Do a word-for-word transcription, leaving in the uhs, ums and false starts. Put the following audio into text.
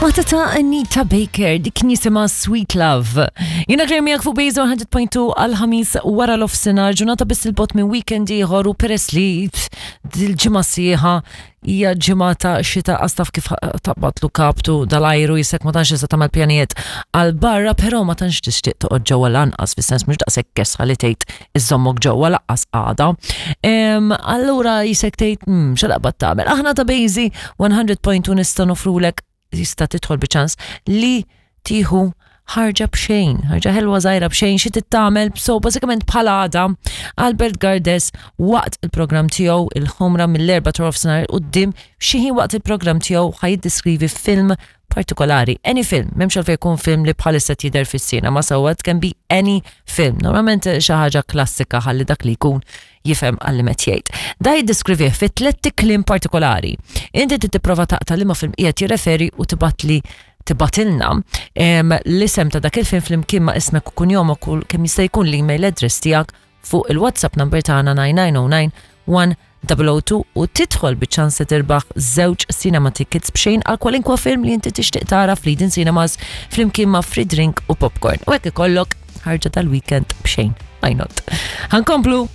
Waħda ta' Anita Baker, dik jisimha Sweet Love. Jiena Claire miegħek fuq Bejzo mija punt tnejn għal-Ħamis wara l-nofsinhar, ġurnata biss 'il bogħod minn weekend ieħor, u peress li dil-ġimgħa sħiħa hija ġimgħa ta' xita, qas taf kif taqbadlu kaptu dal-ajru, jisek ma tantx tista' tagħmel pjanijiet għal barra, però ma tantx tixtieq toqgħod ġewwa lanqas, fis-sens mhux daqshekk kesħa li tgħid iżommok ġewwa lanqas għada. Em, Allura jisek tgħid mm, x'taqbad tagħmel. Aħna ta' Bejzi mija punt tnejn nista' nofrulek, jista' tidħol biċans li tieħu ħarġa b'xejn, ħarġa ħelwa żgħira b'xejn. Xi tagħmel? So bażikament bħala għada, Albert Gardes waqt il-programm tiegħu il-Ħomra mill-erba ta' nofsinhar quddiem, xi ħin waqt il-programm tiegħu ħa jiddeskrivi film partikolari. Any film, m'hemmx għalfejn jkun film li bħalissa jidher fis-sinema, so it can be any film. Normalment xi ħaġa klassika ħalli dak li jkun jifhem għalli met jgħid. Da jiddeskrivih fi tliet kliem partikolari. Inti trid tipprova taqta' liema film qiegħed jirreferi u tibgħatli, tibgħatilna em, l-isem ta' dak il-film flimkien ma' ismek u kunjomok u kemm jista' jkun l-email address tiegħek fuq il-WhatsApp number tagħna tnejn tnejn żero tnejn wieħed żero żero tnejn u tidħol biċ-ċans li tirbaħ żewġ cinema tickets b'xejn għal kwalinkwa film li inti tixtieq tara fl-Eden Cinemas flimkien ma' free drink u popcorn. U hekk ikollok ħarġa tal-weekend b'xejn. Why not? Ħa nkomplu.